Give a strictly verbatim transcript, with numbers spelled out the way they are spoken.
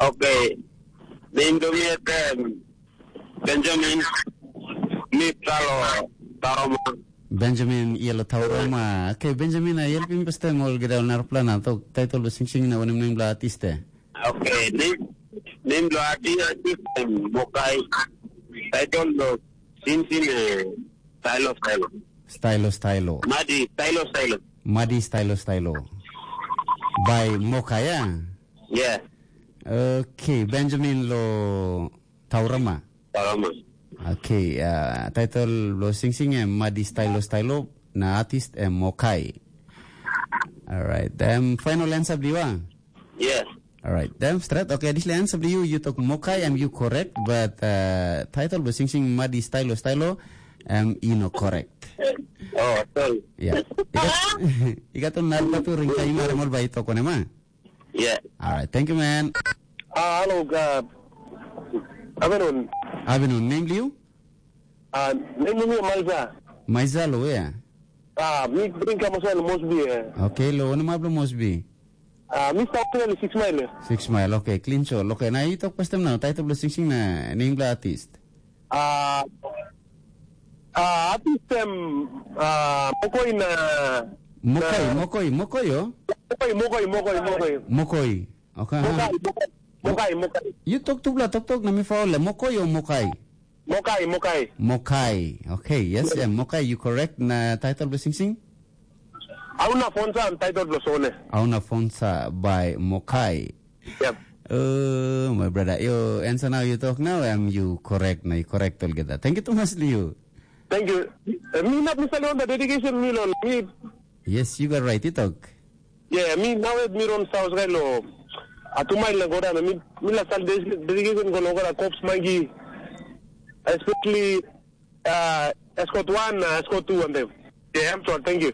Okay. Name do me at um, Benjamin. Me Talo Taroma. Benjamin Yellow Tauroma. Okay, Benjamin, I help him pastem all get on airplane. Tok title lo sing sing na wanem name lo artist eh. Okay. Name name lo artist um, Mokai. Title lo sing sing uh, Stylo Stylo. Stylo Stylo. Madi Stylo Stylo. Madi Stylo Stylo. By Mokai, yeah? Yeah. Okay, Benjamin lo Taurama. Taurama. Okay, uh, title lo sing sing em Madi Stylo Stylo na artist em Mokai. Alright, then final answer bliwa. Yeah. Alright, then straight. Okay, this answer bliwa you talk Mokai, am you correct? But uh, title lo sing sing Madi Stylo Stylo, am you no correct? Oh, sorry. Yeah. Ikat ikat tu nalpa tu ring kaimar mol bai talk on ema. Yeah. Alright, thank you man. Ah, hello, uh, afternoon. Afternoon, name bliu? Ah, name ni Maiza. Maiza lo ya. Ah, mi bring kamu sana Mosby eh. Okay, lo, ano mablo Mosby? Ah, mi start na six mile eh. Six mile, okay, clean show. Okay, na you talk pastem now. Title blo sing sing na name blo artist. Ah, ah, artist em ah, Mokoi na Mokoi, na- Mokoi, Mokoi yo. Mokoi, Mokoi, Mokoi, Mokoi. Mokoi. Okay. Mokoi, Mokoi, Mokoi, Mokoi. You talk tu bla talk talk na mi faul le Mokoi o Mokai. Mokai, Mokai. Mokai. Okay, yes, yeah, Mokai, you correct. Na title blo sing sing? Auna Fonsa and title blo Sone. Auna Fonsa by Mokai. Yep. Oh, my brother, you answer now, you talk now, am you correct na you correct altogether. Thank you too much, Liu. Thank you. Eh, mi nap mi sali on the dedication mi lon. Mi Yes, you got right, you talk. Yeah, mi now at mi ron saus guy lo. Atu mai la goda mi mi la sal dedication go lo goda cops mangi. Especially uh, escort one, uh, escort two and them. Yeah, I'm sorry. Thank you.